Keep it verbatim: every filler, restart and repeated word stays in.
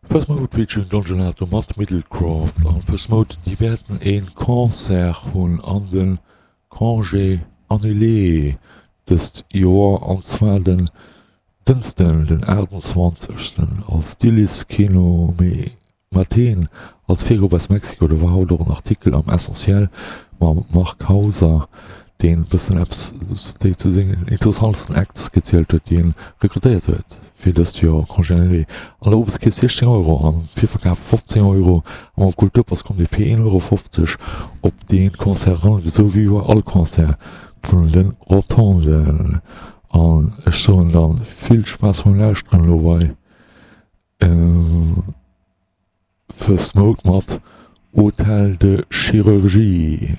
First Mode featuring Don Gelato mat Middlecroft an First Mode déi wäerten een Concert hunn an den Congé annulé dëst Joer an zwar den Dënschden den aachtundzwanzegsten als Stilis Kino Maten als Virgrupp aus Mexiko. Do war haut och en Artikel am Essentiel mam Marc Hauser, deen e bëssen eppes déi zu sengen interessantsten Acts gezielt huet, déi en rekrutéiert huet fir dëst Joer Congé annulé. An der Oweskeess siechzéng Euro, am Virverkaf fofzéng Euro a mam Kulturpass kommt Dir fir een Euro fofzeg op dee Concert eran, esou wéi bei all Concert vun de Rotonden. An ech soen dann vill Spaass beim Lauschteren elo bei First Mode mat Hôtel de Chirurgie.